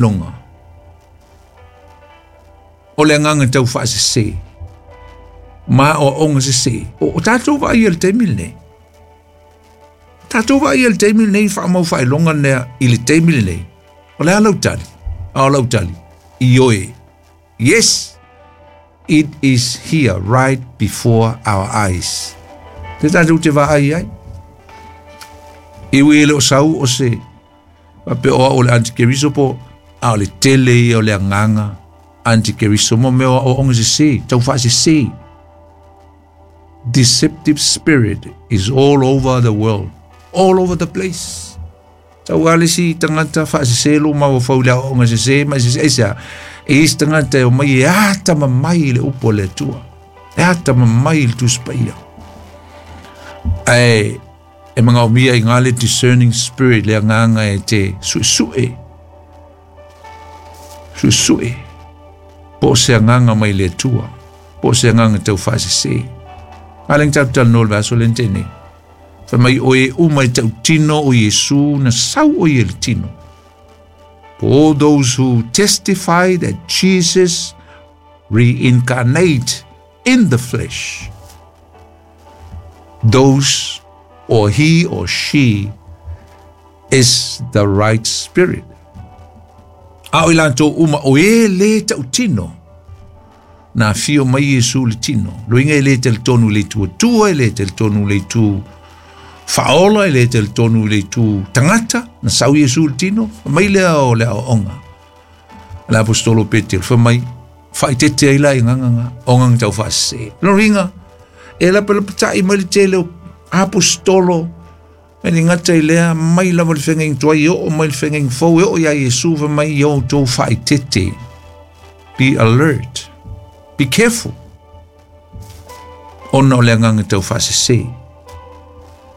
Loga o le agaga taufaasese ma aoaoga sesē. O tatou vaaia i le taimi lenei, tatou vaaia i le taimi lenei faamau faailoga lea i le taimi lenei. O le a lau tali? A o lau tali, ioe. Yes, it is here right before our eyes. Te tatou te vaai ai. E ui e le o sau o se faapea o au o le antikeriso po a o le tele ia o le agaga antikeriso mo mea o aoaoga sesē, taufaasesē. Deceptive spirit is all over the world, all over the place. Tau a le isi tagata faasesē lou mafaufau i le aoaoga sesē ma e sesē aisea? E i ai se tagata e omai e atamamai i le upu a le Atua, e atamamai i le Tusi Paia. Ae e manaomia i gā le discerning spirit, le agaga e te suesue, suesue po o se agaga mai le Atua, po o se agaga taufaasesē. A lea na tatou talanoa i le vaiaso lea na tea nei. Fai mai o e uma i tautino o Iesu na sau o ia i le tino. For all those who testify that Jesus reincarnate in the flesh, those or he or she is the right spirit. A o i latou uma o e lē tautino, na afio mai Iesu i le tino. Loiga e lē talitonu i le Itu Atua, e lē talitonu i le Itu faaola, e lē talitonu i le Itu tagata, na sau Iesu i le tino, fai mai lea o le aoaoga a le aposetolo o Petero, fai mai, faaeteete ai la i agaga na, o agaga taufaasese. Lona uiga, e lapalapata'i mai le tele o aposetolo, e le gata i lea, mai lava le feagaiga tuai e oo mai le feagaiga fou e oo iā Iesu, fai mai, ia outou faaeteete. Be alert. Be careful. Ona o le agaga taufaasese.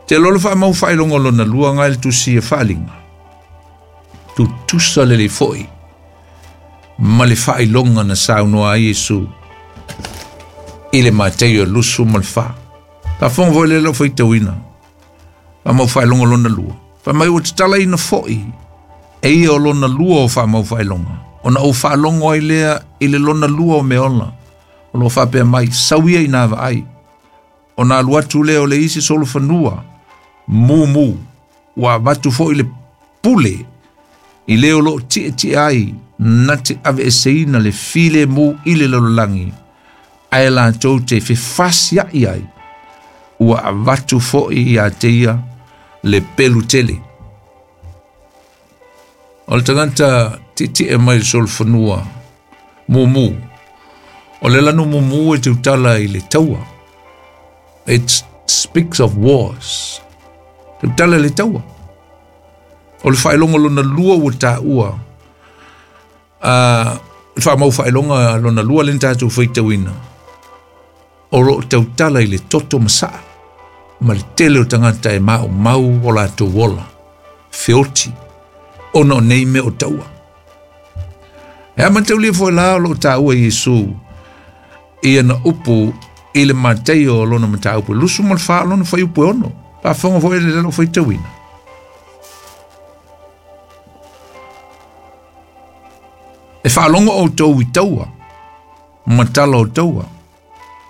Te loa le faamau faailoga lona lua nga i le tusi e faaaliga. Tutusa lelei foi ma le faailoga na saunoa ai Iesu i le Mataio e 24. Faafofoga foi lea lau faitauina. Faamau faailoga lona lua. Fai mai ua tatalaina foi e ia o lona lua o faamau faailoga, ona ou faalogo ai lea i le lona lua o meaola, o lo o faapea mai, sau ia ina vaai. Ona alu atu lea o le isi solofanua, mumu, ua avatu foi le pule i le o lo o tietie ai na te aveeseina le filemu i le lalolagi, ae latou te fefasiaʻi ai, ua avatu foi iā te ia le pelu tele. O le tagata tietie mai le solofanua mumu, o le lanu mumu e tautala i le taua. It speaks of wars. Tautala i le taua. O le faailoga lona lua ua taua, le faamau faailoga lona lua lea na tatou faitauina, o lo o tautala i le toto masaa ma le tele o tagata e maumau o latou ola, feoti, ona o nei mea o taua. E amatalia foi la o lo o taua e Iesu i ana upu i le Mataio o lona mataupu e 24 o lona fuaiupu e 6. Faafofoga foi le lalo faitauina. E faalogo outou i taua, ma tala o taua,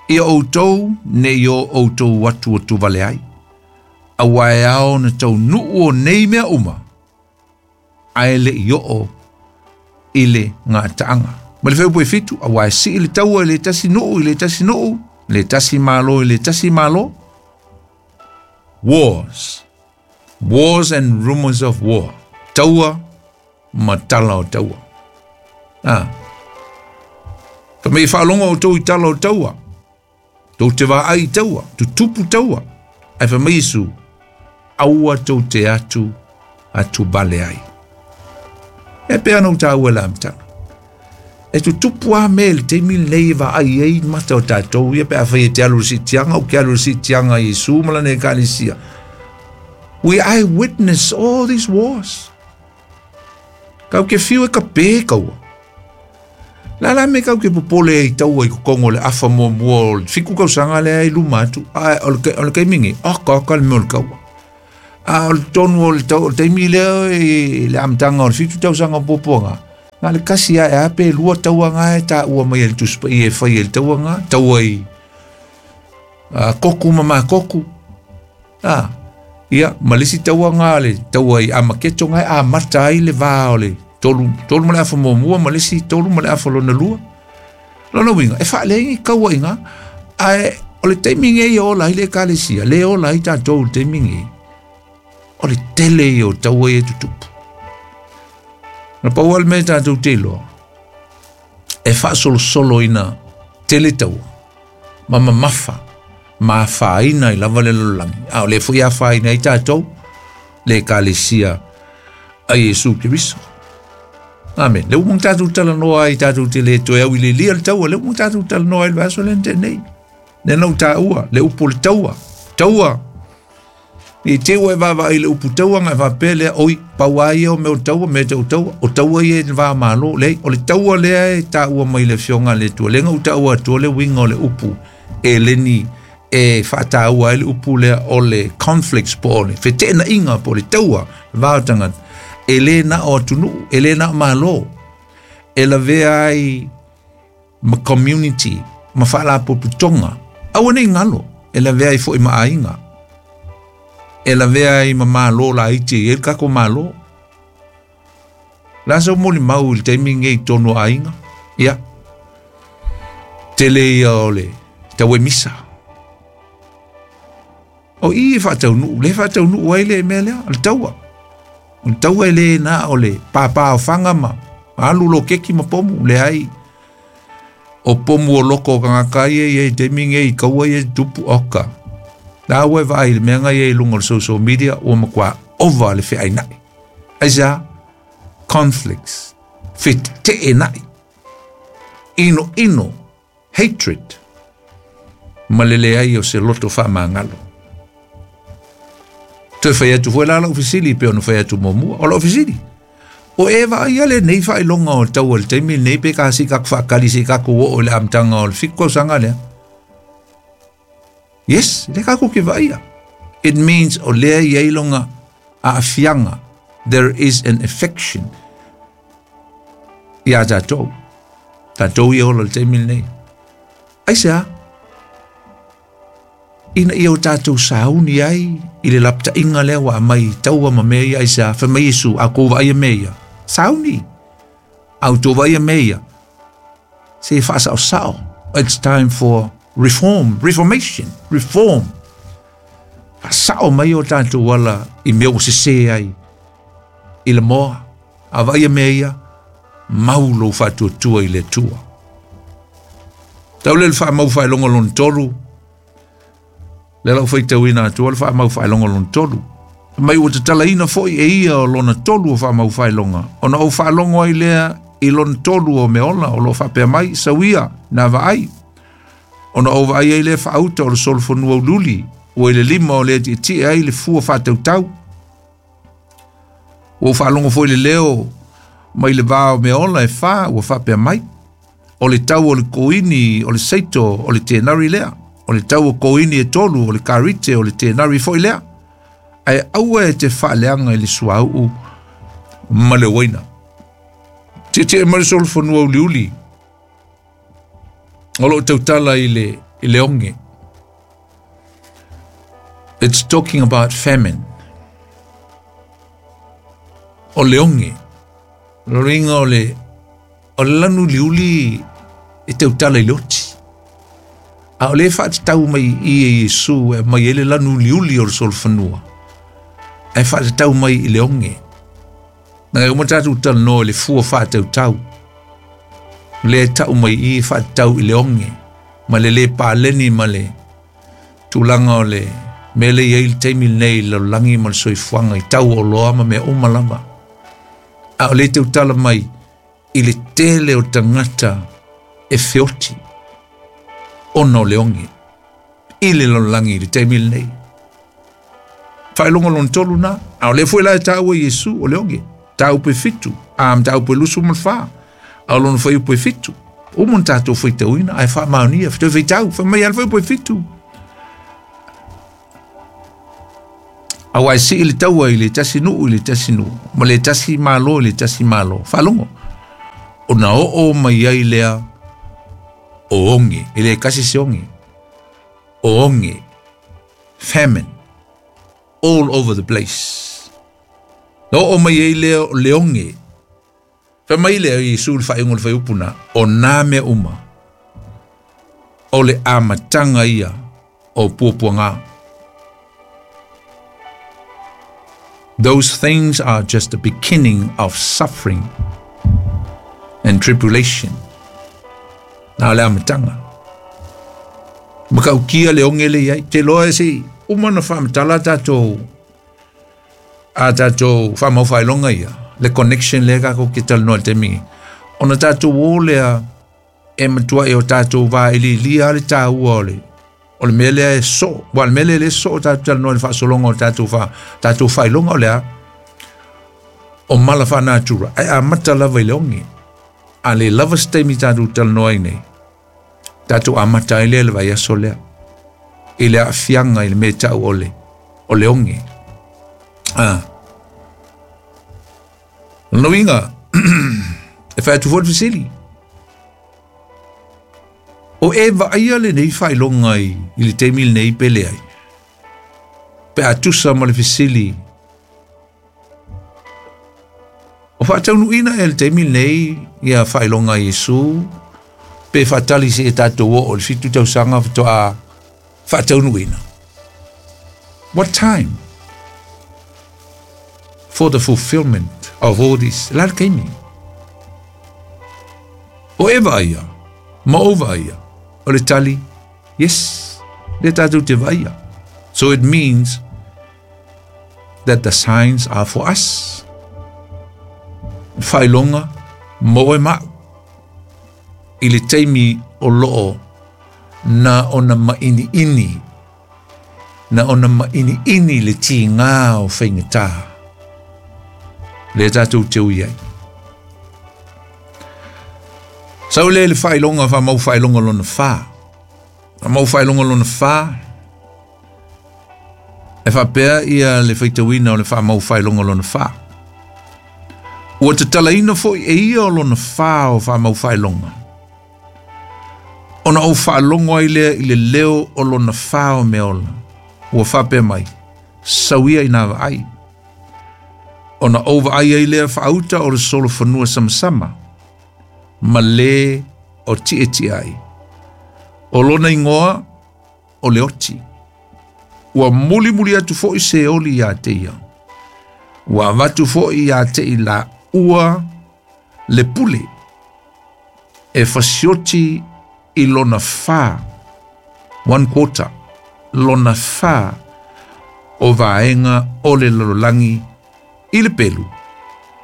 ia outou ne i o outou atuatu vale ai, aua e ao ona taunuu o nei mea uma, ae le i oo i le gataaga. Ma le fuaiupu e 7, aua e sii le taua i le tasi nuu i le tasi nuu, le tasi malo i le tasi malo. Wars. Wars and rumors of war. Taua ma tala o taua. Ah. Fa mai faalogo outou i tala o taua. Tou te vaai i taua, tutupu taua. Ae fai mai Iesu, aua tou te atu atu vale ai. E pei ona ou taua i le amataga. E tutupu lava mea i le taimi lenei e vaai ai mata o tatou ia pe afai e te alu i le siitiaga, ou ke alu i le siitiaga a Iesu ma lana ekalesia. We eyewitness all these wars. Kau ke fiu e ka pē kaua. La la me kau ke popole i taua i kokongo le afa muamua o le 7 tausaga lea i luma atu, a o le, o le taimi nei, aka aka le mea o le kaua. A o le tonu o le, tau, o le taimi lea i le amataga o le 7 tausaga o puapuaga, Na le kasi a e a pe lua taua ngā e tā ua mai e le Tusi Paia e fai e le taua ngā, taua i koku ma makoku. A, ia, ma le isi taua ngā le taua i Amaketo ngā e amata ai le vā o le tolu, tolu ma le afa muamua ma le isi tolu ma le afa lona lua. Lona uiga, e faaleai ni kaua i ngā, ae o le taimi nei e ola ai le ekalesia, le ola ai tātou i le taimi nei, o le tele ia o taua ia e tutupu. Na pau lava le mea tatou te iloa, e faasolosolo ina tele taua, ma mamafa, ma afaina ai lava le lalolagi, a o lea foi e afaina ai tatou, le ekalesia a Iesu Keriso. Amen. Le uma tatou talanoa ai tatou te le toe au i le lia le taua, le uma tatou talanoa ai le vaiaso lea na tea nei. Lea na ou taua, le upu o le taua, taua. I te ua e vaavaai i le upu taua ona e faapea lea, oi, pau lava ia o mea o taua, mea tau taua, o taua ia i le va Malo. Leai, o le taua lea e taua mai le Afioga a le Atua, lea na ou taua atua le uiga o le upu eleni e faataua ai le upu lea o le conflicts po o le feteenaiga po o le taua le va o tagata, e le na o atunuu, e le na o Malo, e lavea ai ma community ma faalapotopotoga, aua ne i galo, e lavea ai foi ma aiga, e lavea ai ma malo laiti e i ai le tatou Malo. O le a sau molimau i le taimi lenei i totonu o aiga? Ia, tele ia o le tauemisa. O i e faataunuu, le faataunuu ai le mea lea, o le taua. O le taua e le na o le pāpā o fanga ma alu loketi ma pomu, leai. O pomu o loko o tagata ia i ai taimi nei i kaua ia tupu oka. La ua e vaai i le mea na ia i luga o le social media ua matua ova le feainai. Aisea? Conflicts. Feteenai. Inoino. Hatred. Ma le leai o se loto faamagalo. Toe fai atu foi la lau fesili pei ona fai atu muamua. O lau fesili, o e vaaia lenei faailoga o taua i le taimi lenei pe ka se i tatou faatali se i tatou oo i le amataga o le 7 tausaga lea? Yes, lea tatou te vaaia. It means o lea e i ai lona aafiaga. There is an affection iā tatou. Tatou ia ola i le taimi lenei. Aisea? Ina ia o tatou sauni ai i le lapataiga lea ua aumai i taua ma mea ia, aisea? Fai mai Iesu, a outou vaaia mea ia, sauni. A outou vaaia mea ia, se faasaosao. It's time for reform, reformation, reform. Faasao mai o tatou ala i mea ua sese ai i le moa. A vaaia mea ia, mau lou faatuatua i le Atua. Tau lea le faamau faailoga lona tolu, lea lau faitauina atua le faamau faailoga lona tolu. Mai ua tatalaina foi e ia o lona tolu o faamau faailoga, ona ou faalogo ai lea i lona tolu o mea ola o lo o faapea mai, sauia, nā vaai. Ona ou vaai ai lea faauta o le solofanua uliuli, ua i le lima o le tietie ai le fua faatautau. Ua ou faalogo foi i le leo mai le va o mea ola e fa ua faapea mai, o le tau o le koini o le seito o le tenari lea, o le tau o koini e tolu o le karite o le tenari foi lea, ae aua e te faaleaga i le suauu ma le uaina. Tietie mai le solofanua uliuli o lo o tautala i le, i le oge. It's talking about famine. O le oge. Lona uiga o le, o le lanu uliuli e tautala i le oti. A o lea e faatatau mai i i e Iesu e aumai ai le lanu uliuli o le solofanua, ae faatatau mai i le oge. Na e uma tatou talanoa i le fua faatautau. Lea e tau mai i i faatatau i le oge ma le le paleni ma le tulaga o le mea lea e i ai le taimi lenei i le lalolagi ma le soifuaga i tau o oloa ma mea uma lava. A o lea e tautala mai i le tele o tagata e feoti ona o le oge i le lalolagi i le taimi lenei. Faailoga lona tolu na, a o lea foi la e taua Iesu o le oge, mataupu e 7, a mataupu e 24, a o lona fuaiupu e 7. Uma ona tatou faitauina, ae faamaonia, toe faitau, fai mai lava le fuaiupu e 7. Aua e sii le taua i le tasi nuu i le tasi nuu, ma le tasi malo i le tasi malo. Faalogo. Ona oo mai ai lea o oge, e le tasi se oge, o oge, famine, all over the place. Na oo mai ai lea o le oge. Fai mai lea o Iesu i le faaiuga o le fuaiupu lena, o nā mea uma, o le amataga ia o puapuaga. Those things are just the beginning of suffering and tribulation. Na o le amataga. Matautia le oge lea i ai. Te loa e se uma na faamatala tatou a tatou faamau faailoga ia, le connection lea tatou te talanoa i le taimi nei. Ona tatou o lea e matuai o tatou vailiilia le taua o le o le mea lea e soo. Ua o le mea lea e le soo tatou talanoa i le faasologa o tatou fa tatou faailoga o le a? O mala faanatura, ae amata lava i le oge. A le lava se taimi tatou talanoa ai nei, tatou amata ai lea le vaiaso lea i le aafiaga i le mea e tau o le o le oge. Ah. Lona uiga, e fai atu foi le fesili. O e vaaia lenei faailoga i, i le taimi lenei pe leai? Pe a tusa ma le fesili O faataunuuina ea i le taimi lenei ia faailoga a Iesu pe faatali seia tatou oo i le 7 tausaga faatoa faataunuuina? What time for the fulfillment of all this? O le a le taimi? O e vaaia ma ou vaaia? O le tali, yes, lea tatou te vaaia. So it means that the signs are for us. Faailoga mo oe ma au. I le taimi o loo na ona mainiini, na ona mainiini le tiga o faigata. Lea tatou te ui ai. Sau lea i le faailoga, faamau faailoga lona fa. Faamau faailoga lona fa, E faapea ia le faitauina o le faamau faailoga lona fa. Ua tatalaina foi e ia o lona fa o faamau faailoga. Ona ou faalogo ai lea i le leo o lona fa o mea ola, ua faapea mai, Sau ia inā vaai. Ona ou vaai ai lea faauta o le solofanua samasama, ma le o tietie ai. O lona igoa, o le oti. Ua mulimuli atu foi Seoli iā te ia. Ua avatu foi iā te i laua le pule e fasioti i lona fa, one quarter, lona fa o vaega o le lalolagi i le pelu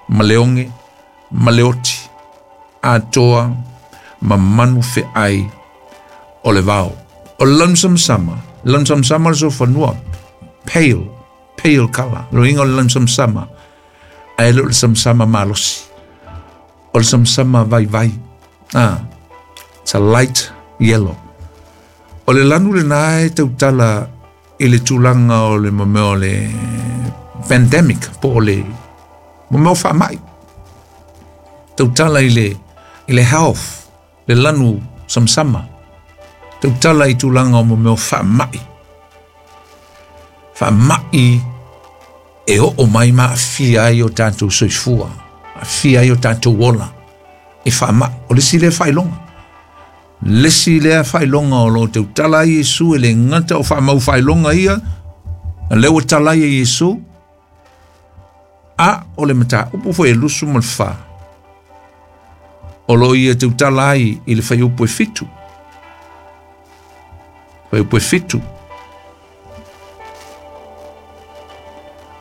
ma le oge ma le oti atoa ma manu feai o le vao. O le lanu samasama, lanu samasama o le solofanua, pale, pale color, lona uiga o le lanu samasama, ae le o le samasama malosi. O le samasama vaivai. Ah, it's a light yellow. O le lanu lena e tautala i le tulaga o le mea o le pandemic po o le mea o faamai. Tautala i le, i le health, le lanu samasama. Tautala i tulaga o mea o faamai. Faamai e oo mai ma aafia ai o tatou soifua, aafia ai o tatou ola i faamai. O le isi lea faailoga. Le isi lea faailoga o lo o tautala ai Iesu e le gata o faamau faailoga ia, a lea ua tala ai e Iesu, a o le mataupu foi e 24, o lo o ia tautala ai i le fuaiupu e 7. Fuaiupu e 7.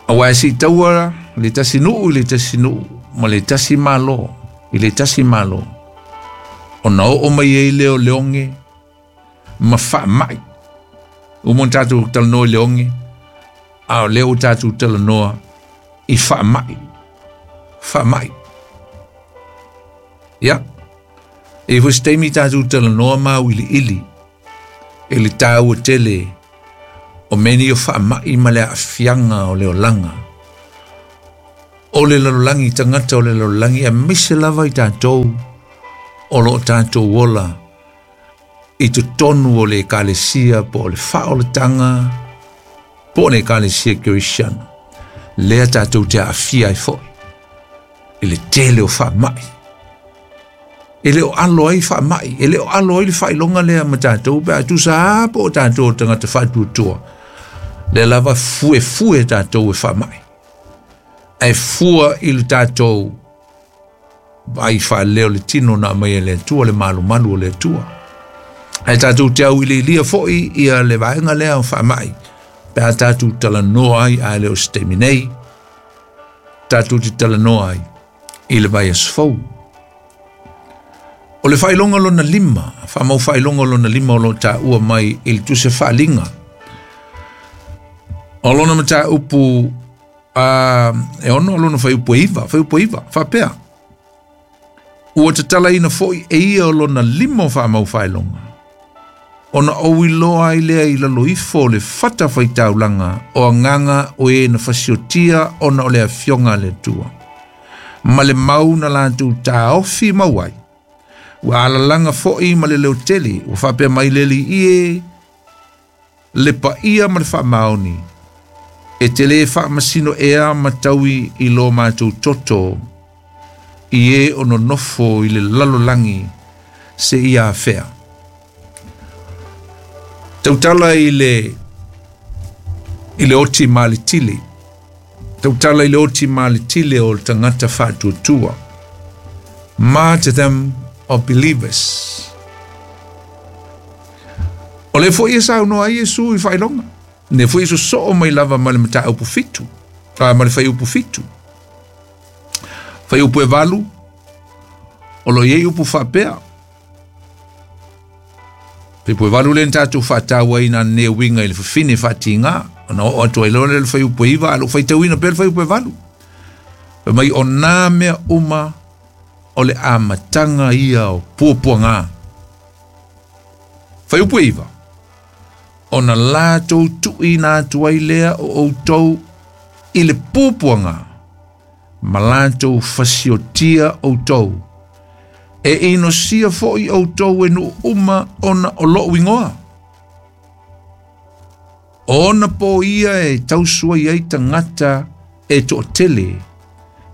Aua e siitaua le tasi nuu i le tasi nuu ma le tasi malo i le tasi malo, ona oo mai ai lea o le oge ma faamai. Uma ona tatou talanoa i le oge, a o lea ua tatou talanoa i faamai. Faamai. Ia, e i ai foi se taimi tatou talanoa ma auiliili i le taua tele o mea nei o faamai ma le aafiaga o le olaga. o le lalolagi, tagata o le lalolagi, aemaise lava i tatou o lo o tatou ola i totonu o le ekalesia po o le faaolataga po o le ekalesia kerisiano, lea tatou te aafia ai foi i le tele o faamai. E le o alo ai faamai, e le o alo ai le faailoga lea ma tatou pe a tusa lava po o tatou o tagata faatuatua. Lea lava fuefue tatou e faamai. Ae fua i le tatou vaai faaleo le tino na aumai e le Atua, le malumalu o le Atua. Ae tatou te auiliilia foi ia le vaega lea o faamai pe a tatou talanoa ai, ae le o se taimi nei, tatou te talanoa ai i le vaiaso fou. O le faailoga lona lima, faamau faailoga lona lima o lo o taua mai i le tusi faaliga. O lona mataupu e 6 lona fuaiupu e 9, fuaiupu e 9, faapea. Ua tatalaina foi e ia o lona lima o faamau faailoga, ona ou iloa ai lea i lalo ifo o le fata faitaulaga o agaga o e na fasiotia ona o le afioga a le Atua, ma le mau na latou taofi mau ai. Ua alalaga foi ma le leotele, ua faapea mai le Alii e, le paia ma le faamaoni, e te le faamasino ea ma taui i lo matou toto, i e o nonofo i le lalolagi se ia afea. Tautala i le oti ma le tili. Tautala i le oti ma le tili o le tagata faatuatua. Martyrdom of believers. O le foi e saunoa ai Iesu i faailoga. Ne foi sosoo mai lava ma le mataupu 7. Ma le fuaiupu 7. Fuaiupu e 8. O lo iai upu faapea. Fuaiupu e 8 le na tatou faataua ai na ne uiga i le fafine faatiga. Ona oo atu ai loa le fuaiupu e 9, a lou faitauina pea le fuaiupu e 8. Fai mai o nā mea uma o le amataga ia o puapuaga. Fuaiupu e 9. Ona latou tuuina atu ai lea o outou i le puapuaga, ma latou fasiotia outou. E inosia foi outou e nuu uma ona o lou ingoa. Ona po ia e tausua ai tagata e toatele,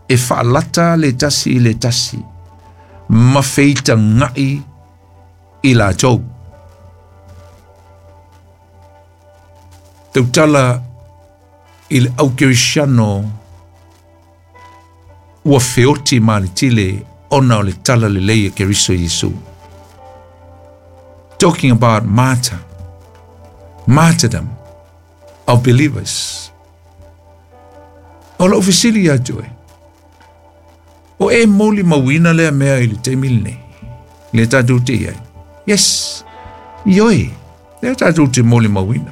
e faalata le tasi i le tasi, ma feitagai i latou. Tautala i le aukerisiano ua feoti ma le tele ona o le tala lelei e Keriso Iesu. Talking about martyrdom of believers. O lou fesili ia te oe, o e molimauina lea mea i le taimi lenei, le tatou te iai. Yes, ioe, lea tatou te molimauina.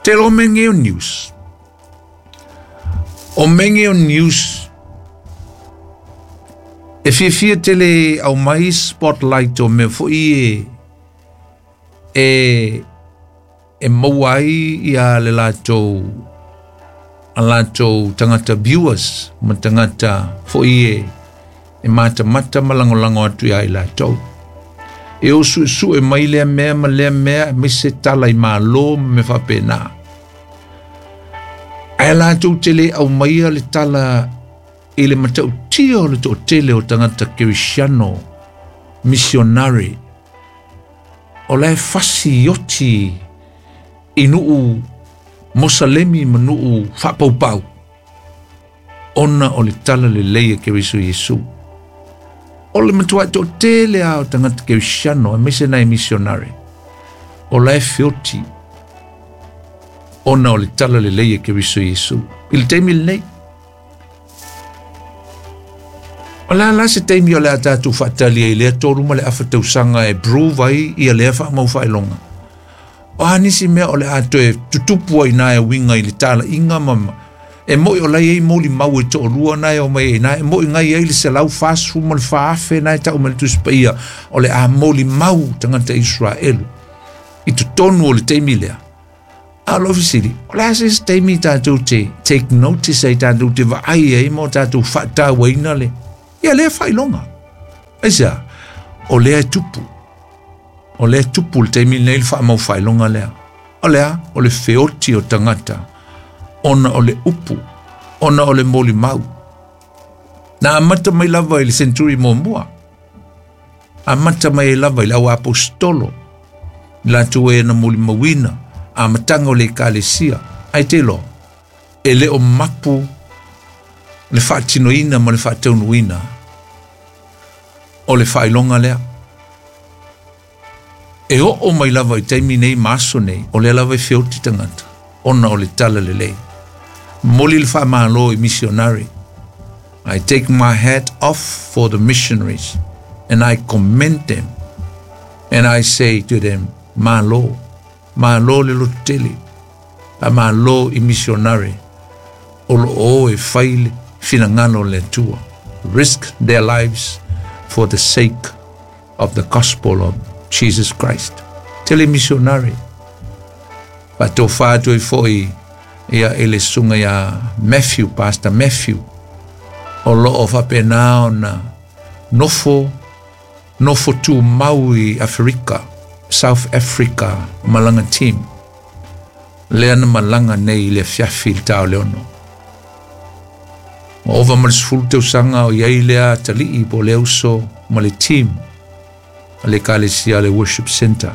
Te lo menge o news. O menge o news, e fiafia tele au mai spotlight o mea foi e maua ai ia le latou a latou tagata viewers ma tagata foi e matamata ma lagolago atu ia i latou. E o suesue mai lea mea ma lea mea e mai se tala i malo ma mea faapena. Ae latou te le aumaia le tala i le matautia o le toatele o tagata kerisiano missionary o la e fasi oti i nuu Mosalemi ma nuu faapaupau ona o le tala lelei e Keriso Iesu. O le matuai toatele a o tagata kerisiano aemaise nai missionary o la e feoti ona o le tala lelei e Keriso Iesu. I le taimi lenei, o la la se taimi o le a tatou faatali ai lea 3 ma le afa tausaga e prove ai ia lea faamau faailoga. O a nisi mea o le a toe tutupu ai nā e uiga i le talaiga ma e moi o lai ei molimau e toalua nā e o mai ai nā e moi ngai ai le 144,000 nā e tau mai le Tusi Paia o le a molimau tagata Israelu i totonu o le taimi lea. A o lou fesili, o le a se isi taimi tatou te take notice ai tatou te vaai ai ma o tatou faatauaina le ia lea faailoga. Aisea? O lea e tupu. O lea e tupu le taimi lenei le faamau faailoga lea. O le a? O le feoti o tagata ona o le upu, ona o le molimau. Na amata mai lava i le century muamua. Amata mai ai lava i le au aposetolo, i latou e na molimauina amataga o le ekalesia. Ae te iloa, e le o mapu le faatinoina ma le faataunuuina o le faailoga lea. E oo mai lava i taimi nei ma aso nei, o lea lava e feoti tagata ona o le tala lelei. Momoli le faamalo i missionary. I take my hat off for the missionaries and I commend them and I say to them, malo, malo le lototele, faamalo i missionary o lo o e fai le finagalo o le Atua. Risk their lives for the sake of the gospel of Jesus Christ. Tele missionary. Faatofa atu ai foi ia i le susuga ia Matthew, Pastor Matthew, o lo o faapena ona nofo, nofo tumau i Aferika, South Africa, ma lana team. Lea na malaga nei i le afiafi i le ta o le 6. Ua ova ma le 10 tausaga o i ai lea atalii po o le uso ma le team a le Ekalesia le Worship Center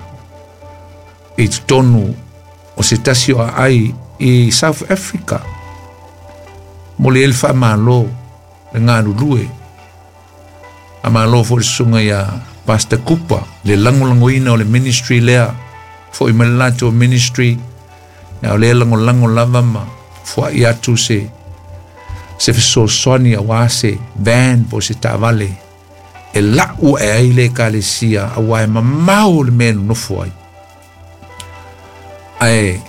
i totonu o se tasi o aai i South Africa. Momoli ai le faamalo le galulue. Faamalo foi le susuga ia Pastor Kupa le lagolagoina o le ministry lea. Foi mai le latou ministry, a o lea lagolago lava ma foai atu se se fesoasoani aua se van po o se taavale e lau ae ai le ekalesia aua e mamao le mea e nonofo ai. Ae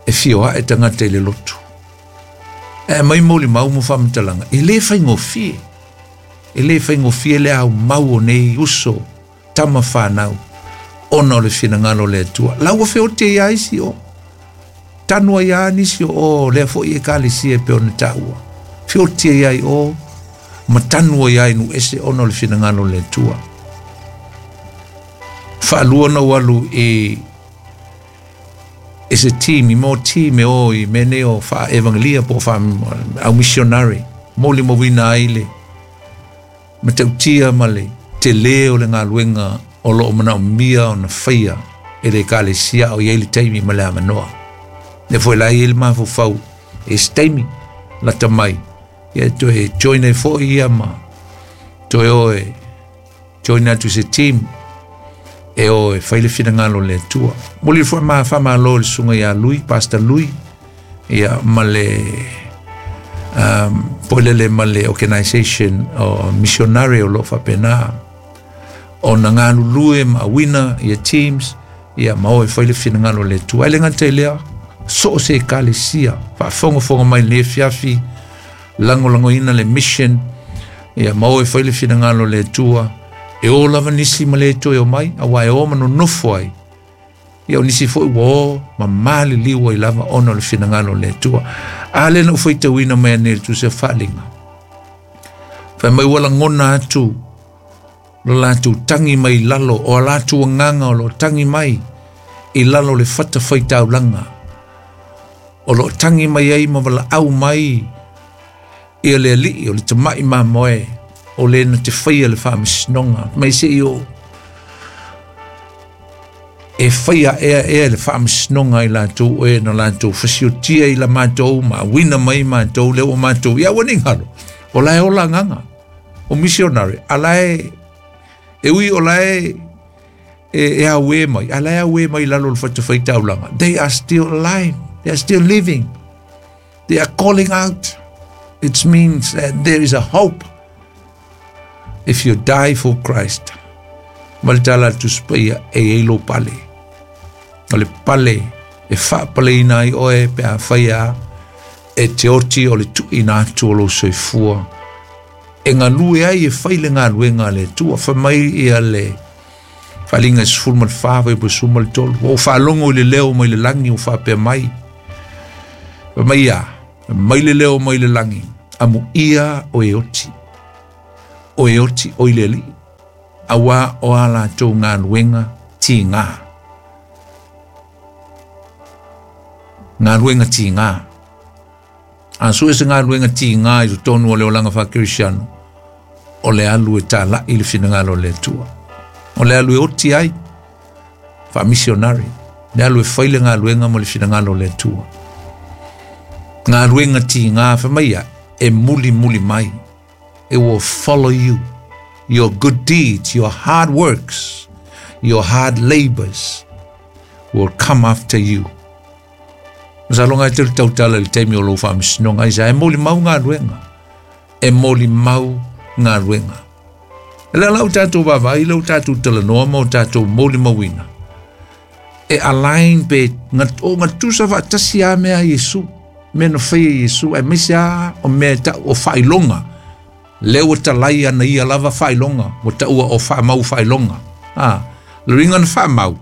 e fio ae tagata i le lotu. E aumai molimau ma faamatalaga, e le faigofie. E le faigofie le aumau o nei uso, tama fanau, ona o le finagalo o le Atua. La ua feoti ai lava isi o, tanu ai lava nisi o o lea foi ekalesia e pei ona taua. Feoti ai lava i o, ma tanu ai lava i nuu ese ona o le finagalo o le Atua. Faalua ona ou alu i i se team, i mo team e o i mea nei o faa-evangelia po o faa au missionary, molimauina ai le matautia ma le tele o le galuega o lo o manaomia ona faia e le ekalesia a o i ai le taimi ma le avanoa. Lea foi la e i ai le mafaufau e se taimi lata mai, ia e toe join ai foi ia ma toe o e join atu i se team e o e fai le finagalo o le Atua. Momoli foi ma faamalo i le susuga ia Lui, Pastor Lui, ia ma le poilele ma le organization o missionary o lo o faapena ona galulue ma auina ia teams ia ma o e fai le finagalo o le Atua. E le gata i lea, so o se ekalesia faafogafoga mai i lenei afiafi, lagolagoina le mission ia ma o e fai le finagalo o le Atua, e o lava nisi ma le toe o mai, aua e o ma nonofo ai. Ia o nisi foi ua o ma maliliu ai lava ona o le finagalo o le Atua. A lea na ou faitauina mai nei i le tusi o Faaaliga. Fai mai ua lagona atu lo latou tagi mai i lalo, o a latou agaga o lo o tagi mai i lalo o le fatafaitaulaga. O lo o tagi mai ai ma valaau mai ia le alii o le tamai mamoe o le na te faia le faamasinoga. Mai se i o e faia ea ea le faamasinoga i latou e na latou fasiotia i la matou ma auina mai matou lea ua matou ia ua ni galo o la e ola agaga o missionary a la e e ui o la e e, e auē mai a la e auē mai lalo o le fatafaitaulaga. They are still alive, they are still living, they are calling out. It means that there is a hope if you die for Christ. Ma le tala a le Tusi Paia, e i ai lou pale. O le pale e faapaleina ai oe pe a fai a e te oti o le tuuina atu o lou soifua e galue ai e fai le galuega a le Atua. Fai mai ia le Faaaliga e 14 fuaiupu 13. Ua ou faalogo i le leo mai le lagi ua faapea mai, fai mai a, mai le leo mai le lagi, amuia o e oti, o e oti o i le Alii, auā o a latou galuega tigā. Galuega tigā. A sue se galuega tigā i totonu o le olaga faakerisiano, o le alu e tāla'i le finagalo o le Atua. O le alu e oti ai, faamisionari, le alu e fai le galuega mo le finagalo o le Atua. Galuega tigā, fai mai ia, e mulimuli mai. It will follow you. Your good deeds, your hard works, your hard labors will come after you. Masalo e te tautala i le taimi o lou faamasinoga ai sa e molimau galuega. E molimau galuega. E le lau tatou vaavaai lau tatou talanoa ma o tatou molimauina. E align pe o gatusa faatasi a mea a Iesu. Mea na faia e Iesu aemaise a o mea e ta'u o faailoga. Lea ua talai ana ia lava faailoga ua taua o faamau faailoga. A, le uiga na faamau,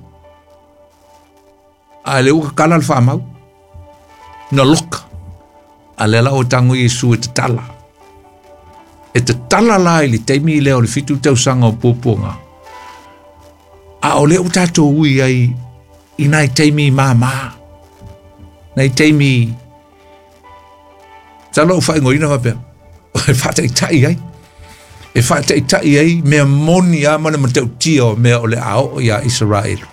a lea ua kakala le faamau. Na loka. A lea la ua tago Iesu e tatala. E tatala la i le taimi lea o le 7 tausaga o puapuaga. A o lea ua tatou ui ai i nai taimi māmā. Nai taimi Masalo ua faaigoaina faapea. E faataitai ai. E faataitai ai mea moni a ma le matautia o mea o le a oo iā Isaraelu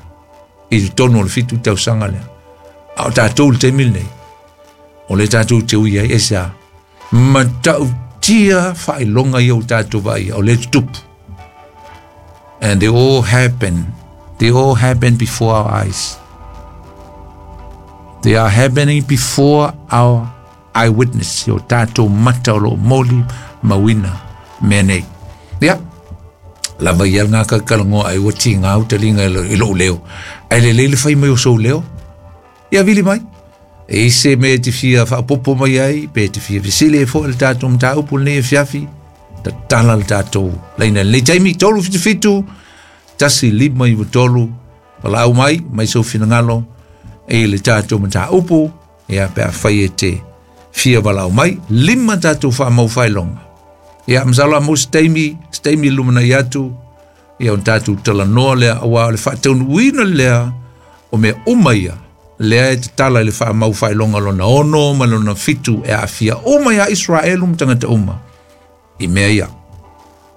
i totonu o le 7 tausaga lea. A o tatou i le taimi lenei, o lea tatou te ui ai, aisea? Matautia faailoga ia ua tatou vaaia, o lea e tutupu. And they all happen. They all happen before our eyes. They are happening before our eyewitness. I o tatou mata o lo o molimauina mea nei. Ia, lava ia le gakakalagoa ai ua tigā utaliga i lou leo. Ae lelei le fai mai o sou leo. Ia vili mai. E i se mea e te fia faaopoopo mai ai, pe te fia fesili ai foi i le tatou mataupu lenei afiafi, tatala le tatou laina i lenei taimi, 377 1593, valaau mai, mai sou finagalo i le tatou mataupu, ia pe afai e te fia valaau mai, 5 tatou faamau faailoga. Ia, masalo a maua se taimi, se taimi i lumanai atu, ia ona tatou talanoa lea, auā o le faataunuuina lea o mea uma ia, lea e tatala i le faamau faailoga lona 6 ma lona 7 e aafia uma iā Isaraelu ma tagata uma i mea ia.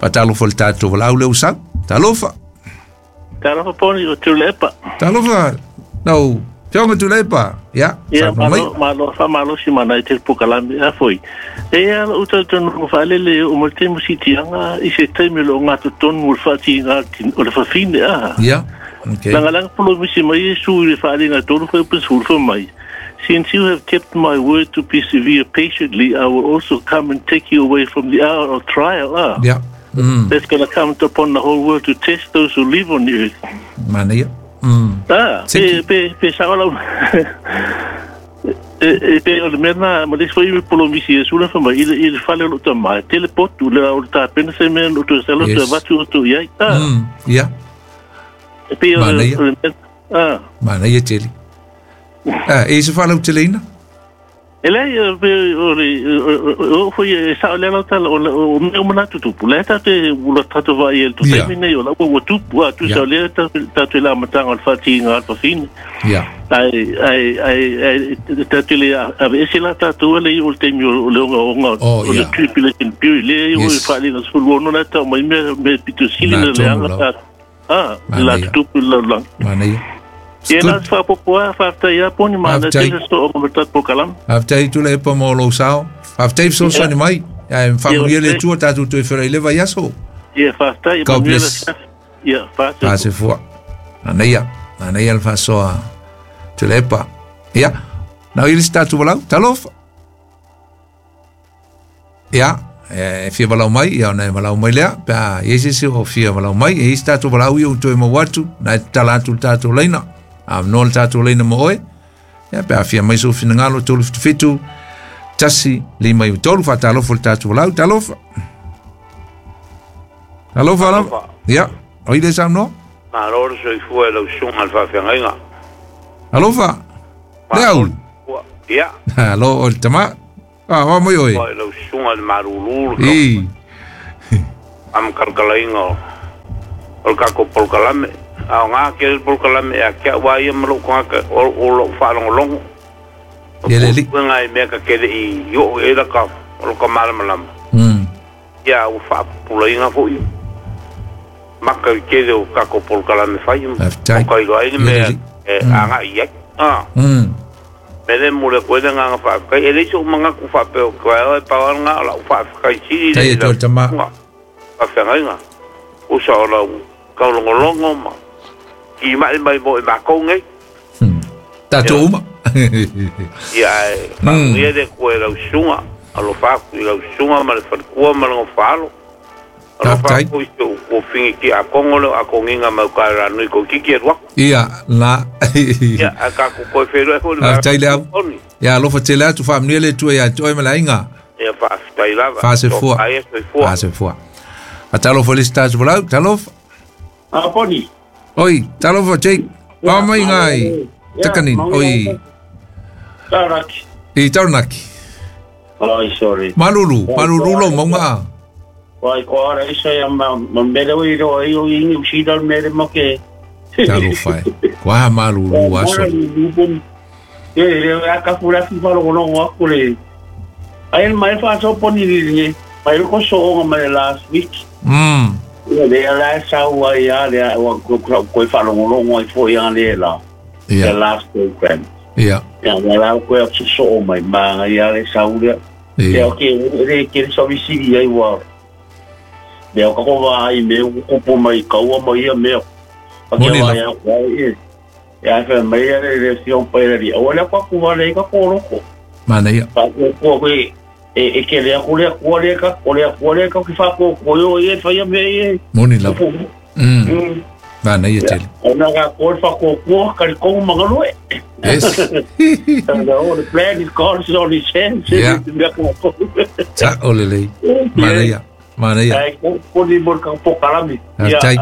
Faatalofa i le tatou valaau lea ua sau. Talofa. Talofa Poni o Tuilaepa. Talofa lau Afioga Tuilaepa. Ia, Ia, saunoa mai. malo, malo, faamalosi ma nai te pokalame a foi. E ia lou talitonuga faalele oo mai le taimi o siitiaga i se taimi o lo o gatotonu o le faatiga o le fafine a. Ia, okay. Lagalaga polomisi mai Iesu i le faaaliga e tolu fuaiupu sefulu fai mai, Since you have kept my word to persevere patiently, I will also come and take you away from the hour of trial. Ah. Ia. That's going to come upon the whole world to test those who live on the earth. Manaia. Ah, pe, pe, pe sao lau. E, e, pe o le mea na, ma le isi foi polomisi Iesu la fai mai, i le, i le fale o lou tama, e tele potu, le o le tapena se mea no toe salo toe avatu outou i ai. Ah. Ia. E pei o le, o le mea, ah. Manaia tele. Ah, e se faalauteleina? E leai, e o le, o foi e sao lea lau tala, o, o mea uma na tutupu. Lea tatou te, ua tatou vaai i le taimi nei, o la ua tupu, a tusa o lea tatou i le amataga o le faatiga a le fafine. Ai, ai, ai, ai, tatou le aveese la tatou le i o le taimi o le ogaoga o le tribulation period, lea i o le faaaliga 16 la tau mai mea, mea pito sili na leaga tatou. Ah, la tutupu i le lalolagi. Manaia. Ia na se faaopoopo lava, faafetai lava Poni, manaia tele se oo ma le tatou polokalame. Faafetai Tuilaepa mo lou sao. Faafetai fesoasoani mai. Ae faamanuia le Atua tatou toe feiloai i le vaiaso. Ia faafetai. God bless. Ia, faasefua. Faasefua. Manaia, manaia le faasoa Tuilaepa. Ia, nau i le isi tatou valaau. Talofa. Ia, e fia valaau mai, ia ona e valaau mai lea, pe a i ai se isi o fia valaau mai, e i ai se tatou valaau ia ua toe maua atu, na e tatala atu le tatou laina, avanoa le tatou laina mo oe, ia pe a fia mai sou finagalo, 377 1 5 3, faatalofa i le tatou valaau, talofa. Talofa lava. Ia, o i le saunoa? Malo le soifua i lau susuga i le faafeagaiga. Alofa. Le Malo au. le soifua. Ia. Alo o le tama. Ah, wa mai oe. Ua i lau susuga i le malulu le I. faamakalakalaina o o le tatou polokalame. Aoga tele le polokalame ia te au lava ia ma lou tagata o lou faalogologo. O Ia le alii. puipuiga i mea ta te le i oo i ai lata o lota malamalama. Ia ua faapupulaina foi maka i le tele o tatou polokalame fai Faafetai. o ka iloa ai le Ia le mea alii. e agai i ai. Ah. Mea lea e momoli atu ai le agaga faafetai. E leai so'u manatu faapea o toe ao e pau lava lena o la'u faafetai sili Tai lea e i toe lau tama. susuga faafeagaiga usa o lau taulogologo ma timai mai mo i makou nei. Tatou uma. Ia ae faamanuia le Atua i lau susuga, alofa atu i lau susuga ma le faletua ma le gofaalo. Alofa Faafetai. atu i si ou tuafini tiakono lea o Akoniga mai uta i Ranui toeitiiti alu atu. Ia, la. Ia ae tatou toe feiloai foi i le Faafetai le au. Tony. Ia alofa tele atu faamanuia le Atua ia te oe ma le aiga. Ia faafetai lava. Faasefua. Tofa ia soifua. Faasefua. Faatalofa i le isi tatou folau. Talofa. Ah, Poni. Oi, talofa Jake. Ia, Wa mai ngai. ia, Takanin. maui Oi. ai. Taranaki. I Taranaki. Ai, sorry. Malulu, malulu lo maunga. Wai, ko ara isa ia ma, ma mele o iro ai o ingi usida al mele ma ke. Talofa e. Kwa malulu aso. E, le a ka fura fi falo kono wa kule. Ai mai fa so poni ni ni. Mai ko so o mai last week. Ia le la sa wa ia le wa ko ko ko fa lo ngo ai fo ia le la. The last program. Ia. Ia la la ko so so mai ma ia le sa u le. Ia o ke le ke so vi si ia wa. Me o ka ko ai me o ko po mai ka wa mai ia me. Pa ke wa ia wa ia. Ia fa mai ia le si on pa ia. O le ko ku wa le ka ko ro ko. Mana ia. Pa ko ko ko e e ke le ko le ko le ka ko le ko le ka ki fa ko ko yo e fa ia me e. Moni lava. Mana ia tele. Ona ka ko fa ko ko ka ko mangalo e. Yes. No, the plan is God is on his hands. Yeah. Ta olele. Mana ia. Mana ia. Ai ko ko ni mo ka po kalami. Tai.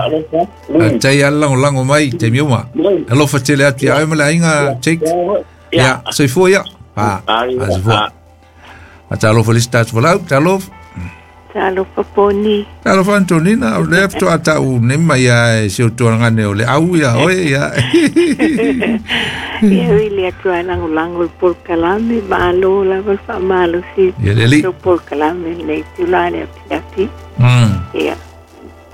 Tai ala lango mai te miuma. Alofa tele atu ia ai ma le aiga Jake. Ia, soifua ia. Pa. Soifua. Talofa le isi tatou folau, talofa. Talofa Poni. Talofa Antonina, o lea fetoa tau nei mai ia e si o tuangane o le au ia oe ia. Ia ui le atua langolango i polokalame, malo lava le faamalosi. Ia le alii. So polokalame lenei tula le apiapi. Ia,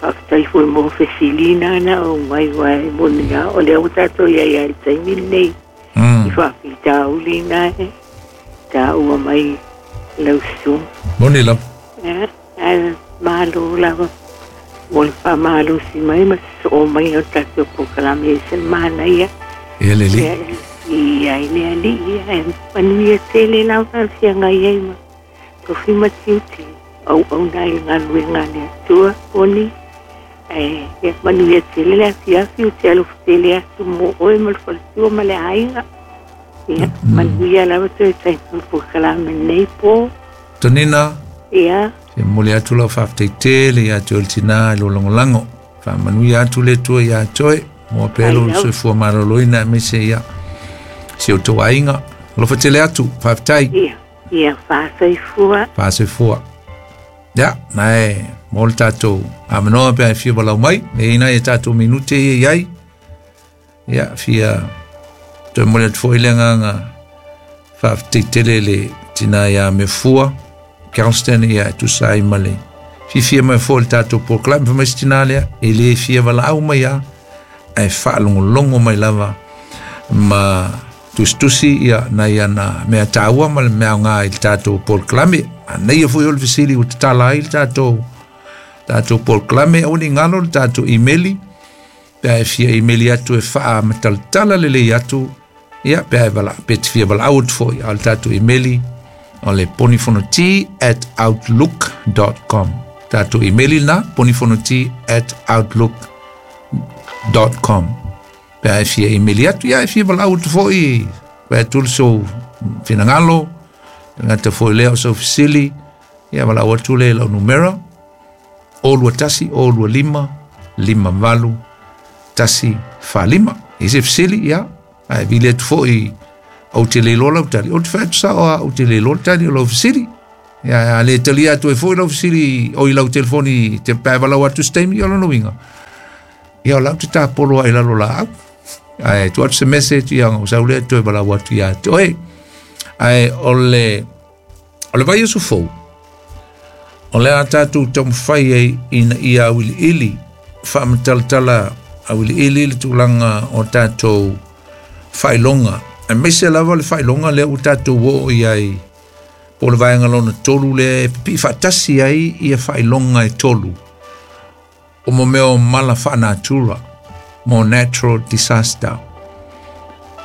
faafetai foi mo fesilina na o mai ua e moni a o lea ua tatou ia ia i le taimi lenei. I faafitauli na e taua mai lau susuga. Moni lava. Ia, ae malo lava mo le faamalosi mai ma sosoo mai o tatou polokalame e se manaia. Ia le alii. Ia ai le alii, ia e manuia tele lava le feagai ai ma tofi ma tiute auauna i le galuega a le Atua Poni. Ae ia manuia tele le afiafi ou te alofa tele atu mo oe ma le faletua ma le aiga. Ia manuia lava toe taimi o le polokalame lenei po. Tonina. Ia. Se momoli atu lau faafetai tele ia te oe le tinā i lou lagolago. Faamanuia atu le Atua ia te oe. Moa pea lou soifua malōlōina aemaise ia si o tou aiga. Alofa tele atu, faafetai. Ia, ia faasoifua. Faasoifua. Ia, nae mo le tatou amanoa pe ai fia walau mai. E ina e tatou minute ia iai. Ia, fia toe momoli atu foi le agaga faafetai tele le tinā ia Mefua. Galston ia e tusa ai ma le fiafia mai foi le tatou polokalame fai mai se tinā lea e lē fia valaau mai a ae faalogologo mai lava ma tusitusi ia nai ana mea tāua ma le mea aogā i le tatou polokalame anaia foi o le fesili ua tatala ai le tatou tatou polokalame aua ne i galo le tatou imeli pe a e fia imeli atu e faamatalatala lelei atu ia pe a e vala pe te fia valaau atu foi a o le tatou imeli o le ponifonoti@outlook.com. Tatou imeli lena ponifonoti@outlook.com. Pe a e fia imeli atu ia e fia valaau atu foi pe atu le sou finagalo gata foi lea o sou fesili ia valaau atu le lau numera 0 21 0 25 58 1 4 5. I se fesili, ia, ae vili atu fo'i ou te le iloa lau tali, ou te fai atu sa'o a ou te le iloa le tali o lau fesili. Ia, a le talia atu ai fo'i lau fesili o i lau telefoni te pe a valaau atu se taimi, ia o lona uiga, ia o la ou te tapolo ai i lalo laau. Ae tuu atu se message, ia ona ou sau lea toe valaau atu ia te oe. Ae o le o le vaiaso fou, o le a tatou taumafai ai ina ia auiliili, faamatalatala auiliili le tulaga o tatou faailoga, aemaise lava le faailoga lea ua tatou oo i ai po o le vaega lona tolu lea e pipii faatasi ai ia faailoga e tolu o mo mea o mala faanatura, mo natural disaster.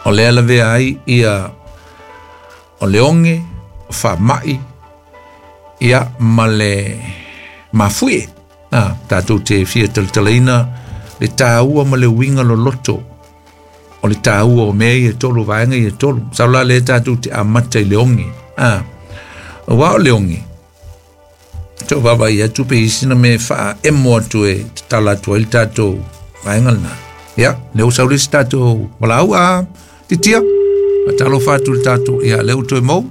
O lea lavea ai ia o le oge, o faama'i, ia ma le mafuie. A, tatou te fia talatalaina le tāua ma le uiga loloto o le tāua o mea ia e tolu, vaega ia e tolu. Masalo la lea tatou te amata i le oge. A, aua o le oge, Tau vaavaai atu pe i ai sina mea e faaemo atu e tatala atu ai le tatou vaega lena. Ia, lea ua sau le isi tatou valaau a Titia. Faatalofa atu i le tatou, ia, lea ua toe mou.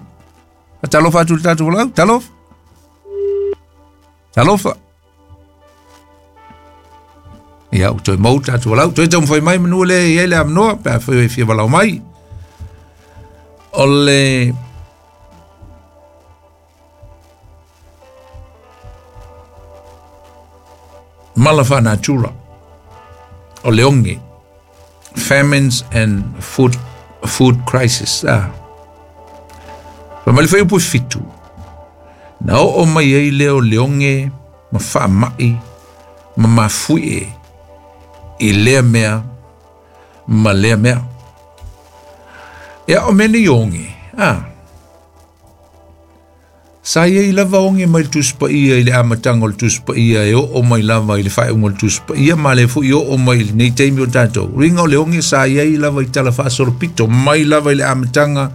Faatalofa atu i le tatou valaau. Talofa. Talofa. Ia, ua toe mou le tatou valaau. Toe taumafai mai manu lea e i ai le avanoa pe afai e fia valaau mai. O le Mala faanatura o le oge, famines and food, food crisis. Ah. Fai mai le fuaiupu e 7, na oo mai ai lea o le oge ma faama'i ma mafuie i lea mea ma lea mea. Ia, o mea nei oge, ah, Sa i ai lava oge mai le Tusi Paia i le amataga o le Tusi Paia e oo mai lava i le faaiuga o le Tusi Paia ma lea foi oo mai i lenei taimi o tatou. Uiga o le oge sa i ai lava i tala faasolopito mai lava i le amataga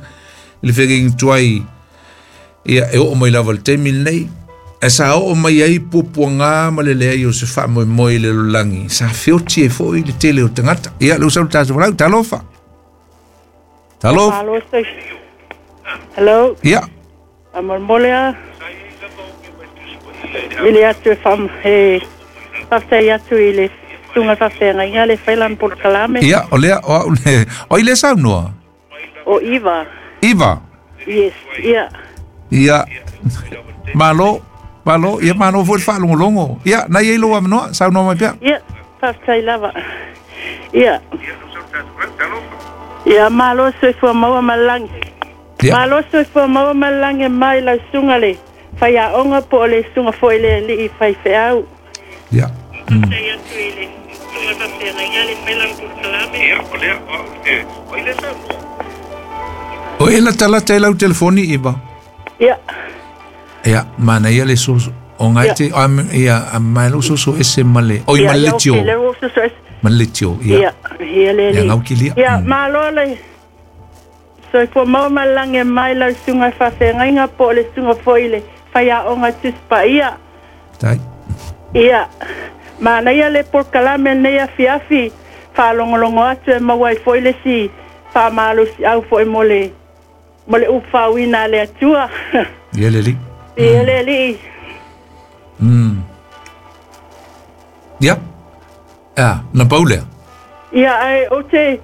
i le feagaiga tuai ia e oo mai lava i le taimi lenei. Ae sa oo mai ai puapuaga ma le leai o se faamoemoe i le lalolagi, sa feoti ai foi le tele o tagata. Ia, lea ua sau le tatou valaau, talofa! Talofa! Hello. Ia. Faamolemole a vili atu e faam e faafetai atu i le susuga faafeagaiga le fai lana polokalame. Ia, o lea, o au le, o ai lea saunoa? O Iva. Iva? Yes, ia. Ia, malo, malo, ia malo foi le faalogologo. Ia, na i ai lou avanoa, saunoa mai pea. Ia, faafetai lava. Ia. Ia, malo soifua maua ma le lagi. Ia. Malo soifua maua ma le lagi e mai lau susuga le faiaoga po o le susuga foi le alii faifeau. Ia. O e latalata i lau telefoni, Iva? Ia. Ia, manaia le soso. O ngai te, ia, a mai lau soso ese ma le, oi ma le tio. Ma le tio, ia. Ia, ia le Ia, ngau kilia. Ia, malo le Soifua maua ma le lagi e mai lau susuga i faafeagaiga po o le susuga foi i le faiaoga Tusi Paia. Tai. Ia, manaia le polokalame lenei afiafi, faalogologo atu e maua ai foi le isi faamalosiau foi mo le mo le upu faauiina a le Atua. Ia le alii. Ia le alii. Ia. A, na pau lea. Ia, ae ou te,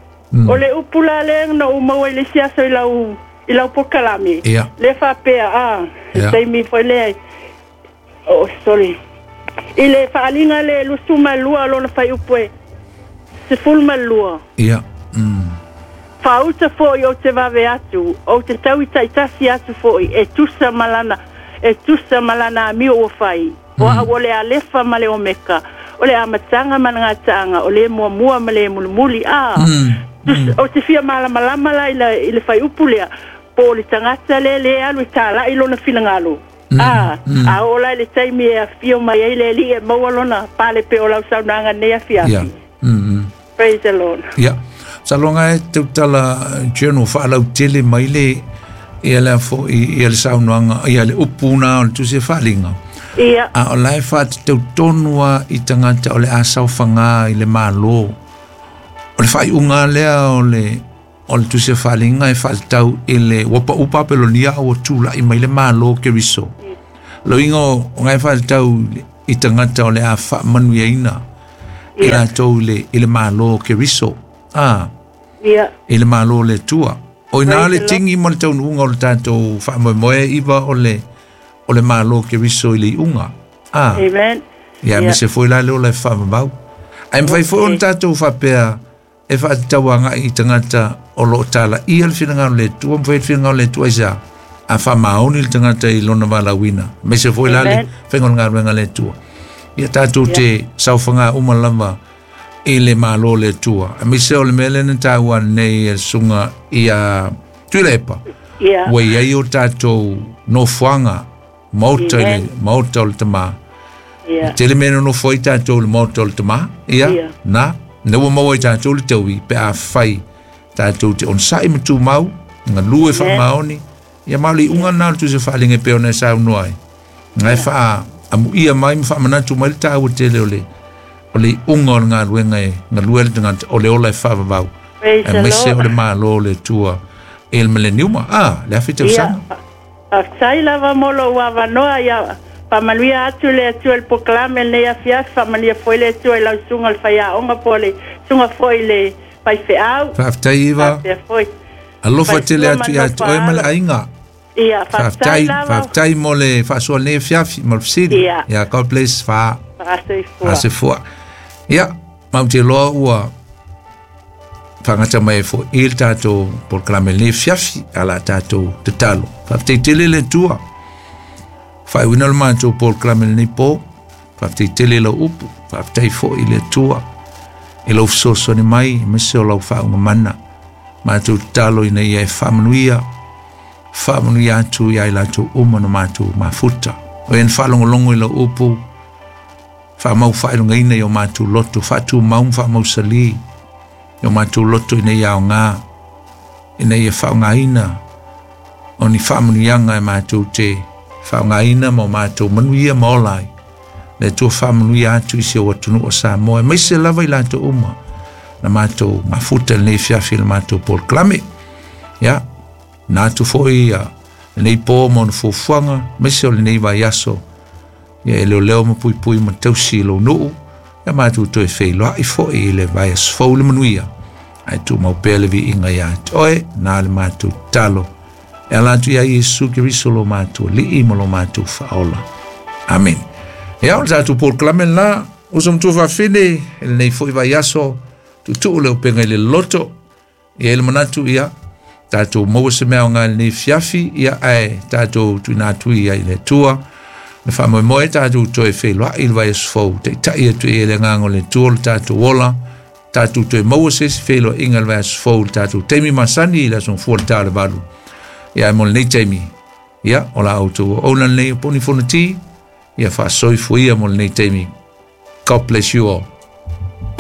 o le upu la lea na ou maua i le isi aso i lau, i lau polokalame. Ia. Lea faapea, a, le Ia. taimi foi lea, oh, sorry. I le faaaliga le 22 o lona fuaiupu e 12. Ia. Faauta foi ou te vave atu, ou te tau i taitasi atu foi, e tusa ma lana, e tusa ma lana amio ua fai. O au o le Alefa ma le Omeka, o le Amataga ma le Gataaga, o le Muamua ma le Mulimuli. A, tusa, ou te fia malamalama la i le, i le fuaiupu lea, po o le tagata lea lea e alu e talai lona finagalo. A, a oo la i le taimi e afio mai ai le Alii e maua lona pale pei o lau saunoaga nei afiafi. Ia. Praise the Lord. Ia. Masalo e tautala journal faalautele mai le ia le foi ia le saunoaga ia le upu na o le tusi e faaaliga. Ia. A o la e faatatau tonu lava i tagata o le a saofaga i le Malo. O le faaiuga lea o le tusi faaliga e faatatau i le ua pau Papelonia a ua tula'i mai le Malo Keriso. Loiga o gae faatatau i tagata o le a faamanuiaina i latou i le Malo Keriso. I le Malo le Atua. O ina le tigi ma le taunuuga o le tatou faamoemoe iva o le Malo Keriso i le iuga. Amen. Ia me se foi la le ola e faamamau. Ae mafai foi ona tatou faapea e faatatau agai i tagata o loo talaia le finagalo le Atua, mafai le finagalo le Atua aisea a faamaoni le tagata i lona valaauina. Aemaise foi la le faiga o le galuega le Atua. Ia tatou te saofaga uma lava i le Malo le Atua. Aemaise o le mea lea na taua nei e le susuga ia Tuilaepa. Ua i ai o tatou nofoaga maota i le maota o le Tamā. Tele mea na nofo ai tatou i le maota o le Tamā. Ia, na ua maua ai tatou le taui pe a fai tatou te onosai ma tumau, galue faamaoni. Ia ma o le iuga lena o le tusi faaliga e pei ona e saunoa ai. Gae faaamuia mai ma faamanatu mai le taua tele o le iuga o le galuega e galue le tagata o le ola e faavavau. Aemaise o le Malo le Atua i le mileniuma. Le afi tausaga. Faafetai lava mo lou avanoa ia faamanuia atu le Atua i le polokalame lenei afiafi, faamanuia foi le Atua i lau susuga le faiaoga po o le susuga foi le faifeau. Faafetai Iva. Alofa tele atu ia te oe ma le aiga. Ia, faafetai lava. Faafetai mo le faasoa lenei afiafi mo le fesili. Ia, God bless. Faasoifua. Ia, mau te loa ua faagata mai foi i le tatou polokalame lenei afiafi a la tatou tatalo. Faafetai tele le Atua. Faaiuina le matou polokalame lenei po. Faafetai tele lau upu. Faafetai foi le Atua i lau fesoasoani mai aemaise o lau faaugamana. Matou tatalo ina ia e faamanuia, faamanuia atu ia i latou uma na matou mafuta. O e na faalogologo i lau upu, faamau faailogaina i o matou loto, faatumau ma faamausali i o matou loto ina ia aoga, ina ia faaaogaina o ni faamanuiaga e matou te faaaogaina ma o matou manuia ma ola ai. Le Atua faamanuia atu i si ou atunuu o Samoa, aemaise lava i latou uma na matou mafuta lenei afiafi i le matou polokalame. Ia, na atu foi ia lenei po ma ona fuafuaga, aemaise o lenei vaiaso. Ia e leoleo ma puipui ma tausi i lou nuu, ia matou toe feiloai foi i le vaiaso fou le manuia. Ae tumau pea le viiga ia te oe, na le matou tatalo. E ala atu ia Iesu Keriso lo matou alii ma lo matou faaola. Amen. Ia, o le tatou polokalame lena, uso matua faafine, e lenei foi vaiaso, tuutuu le upega i le loto. Ia i le manatu ia, tatou maua se mea o ngā lenei fiafi, ia ae tatou tuina atu ia i le Atua. Le faamoemoe tatou toe feiloai i le vaiaso fou, taitai atu i le agaga o le Atua le tatou ola, tatou toe maua se isi feiloaiga i le vaiaso fou, le tatou taimi masani i le aso gafua le ta o le 8. Ia ae mo lenei taimi, ia o la outou auauna lenei o Poni Fonoti, ia faasoifuia mo lenei taimi. God bless you all.